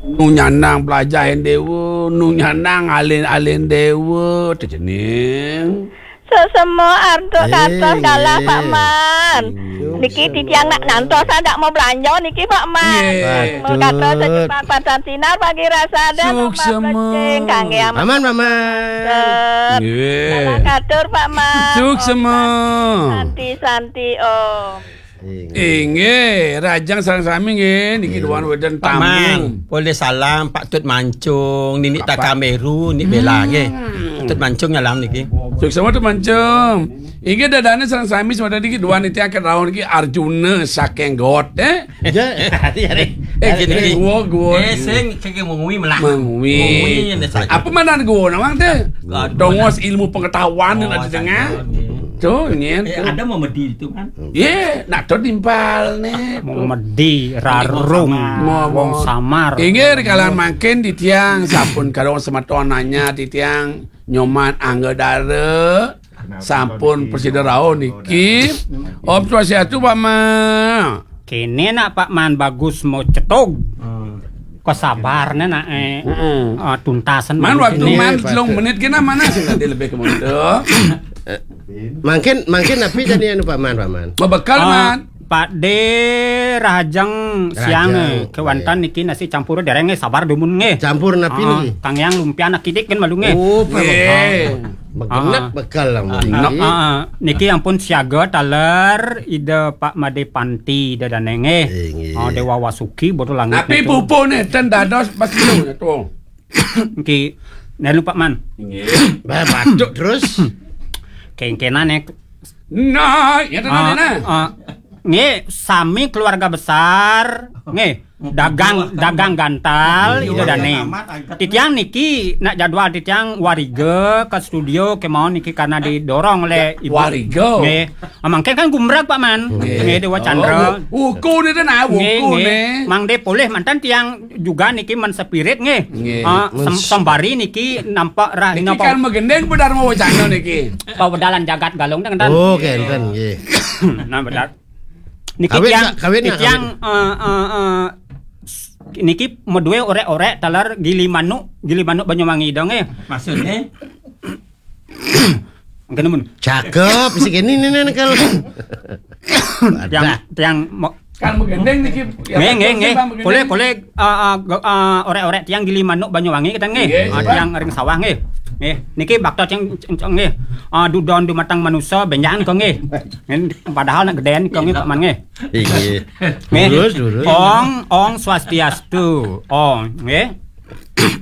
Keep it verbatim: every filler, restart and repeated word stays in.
Nu nyandang pelajahin dewa, nu nyandang alin-alin dewa, tejening. Sesemo artuk katos galah, Pak Man. Niki titiang nak nantos, dak mau belanja niki, Pak Man. Nggih. Mau katos secepat padan sinar pagi rasa dan Suksema. Plecing kangge amat. Paman, Paman. Nggih. Salam katur, Pak Man. Suksema. Santi, santi, Om. Inggih, rahajeng sareng sami nggih, niki duaning wénten tamu. Paman, polih salam Pak Tut Mancung, Ninik Takameru, Nik Bela nggih. Pak Tut Mancung nyalam niki. Suksema Tut Mancung. Inggih dadane sareng sami semeton niki duaning titiang ket rauh niki Arjuna saking Got, eh? Eh, gini, gini. Gua, gua. Eh, sing keke mengui melah. Mengui. Mengui ini saya. Apa manan gua nawang teh? Dongos ilmu pengetahuan nak di tengah. Tuh, nyen. Eh, ada mau medi itu kan? Ye, nak to timpal ne. Mau medi, rarung, wong samar. Inggih, rikala mangkin titiang sampun kadang semeton nanya titiang Nyoman Angga Dara sampun presida rauh niki. Om Swastiastu, Pak Man. Kene nak Pak Man bagus mau cetug. Kesabarne nak, eh, tuntasan. Man, waktu Man telung menit kena mana sih tadi lebih ke mundur. Mangkin, mangkin napi tadi anu Pak Man, Pak Man? Bebekel, Man. Pak De rahajeng siang, eh, kewanten niki nasi campur dereng, eh, sabar dumun nggih. Campur napi niki? Kang Yang lumpia nak kidik kan malu nggih. Oh, Pak. Nggih. Begenep bekel lah mungkin. Niki ampun siaga taler Ida Pak Made Panti Ida Dane nggih. Inggih. Oh, Dewa Wasuki bodo langit. Tapi niku. Pupune ten dados pas niku, tuh. Niki nelu Pak Man. Inggih. Bah, batuk terus. Kengkenan ya. Nah, ya tenang, nah. Nggih, sami keluarga besar. Nggih, dagang, dagang gantal, Ida Dane. Titiang niki nak jadwal titiang wariga ke studio kemawon niki karena didorong oleh Ibu. Wariga. Nggih. Ah, mangke kan gumrag, Pak Man. Nggih. Nggih, Dewa Chandra. Oh, wuku niki nah, wuku nggih, nggih. Mang De polih mantan tiang juga niki men spirit nggih. Nggih. Ah, sem-, sembari niki nampak rah niki napa? Kan megendeng Dharma Wacana niki. Pawedalan jagat Galung ten. Oh, kenten nggih. Nah, benar. Niki kawin tiang, kawin niki tiang, eh, eh, eh, niki medue orek-orek taler gili manuk, gili manuk Banyuwangi dong, eh. Maksudnya? Mungkin mun. Cakep, si kene ini nih kalau. Tiang, tiang mo-, kan menggendeng niki. Nggih, nggih, nggih. Boleh, boleh, eh, eh, ge-, eh, orek-orek tiang gili manuk Banyuwangi kita nggih. Nggih, eh, siap. Tiang ring sawah nggih. Nggih, niki bakto ceng, ceng, ceng nggih. Ah, dudon dumateng manusa benjangan kok nggih. Nggih, padahal nak gedean kok nggih, Pak Man nggih. Iya. Nggih. Lurus, lurus. Ong, ong swastiastu. Ong, nggih.